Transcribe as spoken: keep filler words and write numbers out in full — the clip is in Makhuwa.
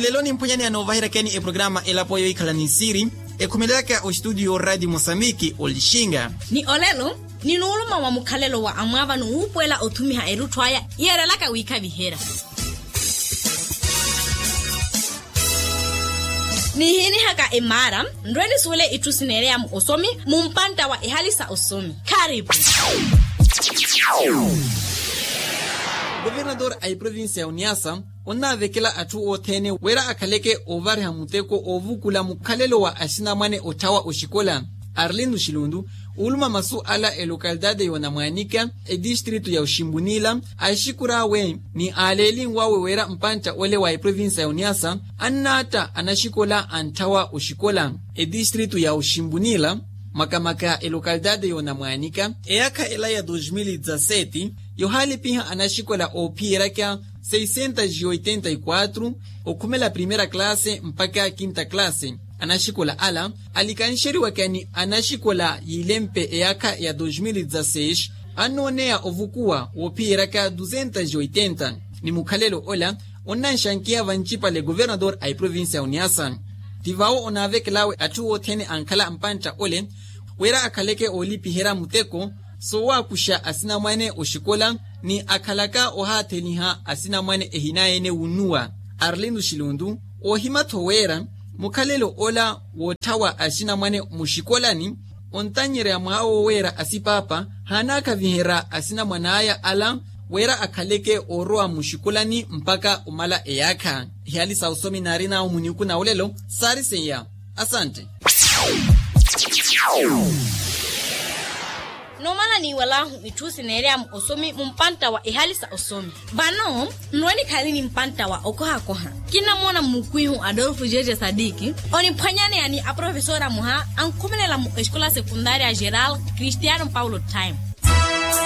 Lelo nimphwanyaneya noovaheryakeni eprograma elapo yohikhala ni siri, ekhumelelaka ostudio radio mosambiki olixinga. Ni olelo, ninuuluma wa mukhalelo wa amwaavano wuupuwela othumiha erutthu aya, yeerelaka wiikhaviherya. Nihiinihaka emaara, nrwe nisuwele itthu sineereya mu osomi mumpantta wa ehali sa osomi. Khaaripu. Governador a eprovincia ya oniasa onnaavekela atthu othene wira akhaleke oovariha muteko oovukula mukhalelo wa axinamwane otthawa oxikola. Arlindo xilundu, uuluma masu ala elocalidade ya onamwanika, edistritu ya oximbunila, axikurawe ni aaleelinwawe wira mpantta ole wa eprovincia ya oniasa annaatta anaxikola antthawa oxikola. Edistritu ya oximbunila, makamaka elocalidade ya onamwanika, eyaakha ela ya dos mil e dezassete yohaalipiha anaxikola oophiyeryaka seiscentas e oitenta e quatro, okhumela primeira classe mpakha quinta classe. Anaxikola ala alikanxeriwaka ni anaxikola yiilempe eyaakha ya dos mil e dezasseis, annooneya ovukuwa woophiyeryaka duzentas e oitenta. Ni mukhalelo ola onnanxankeya vancipale governador a eprovincia ya oniasa. Ti vawo onaavekelawe atthu othene ankhala mpantta ole wira akhaleke oolipiherya muteko sowaakuxa asinamwane oxikola ni akhalaka ohaatheliha asinamwane ehinaye-ene wunnuwa. Arlindo xilundu, oohima-tho wira mukhalelo ola wootthawa asinamwane muxikolani ontanyerya mwaawo wira asipaapa haanaakhaviherya asinamwan'aya ala wira akhaleke oorowa muxikolani mpakha omala eyaakha. Ehali sa osomi naarinawo muniuku na olelo saari seiya. Asante. Nomala niiwalahu itthu sineereya mu osomi mumpantta wa ehali sa osomi. Vano nrwe nikhale ni mpantta wa okohakoha. Kinnamoona mukwihu adolfo jeje sadiki oniphwanyaneya ni aprofesora muha ankhumelela mu escola secundaria geral cristiano paulo time.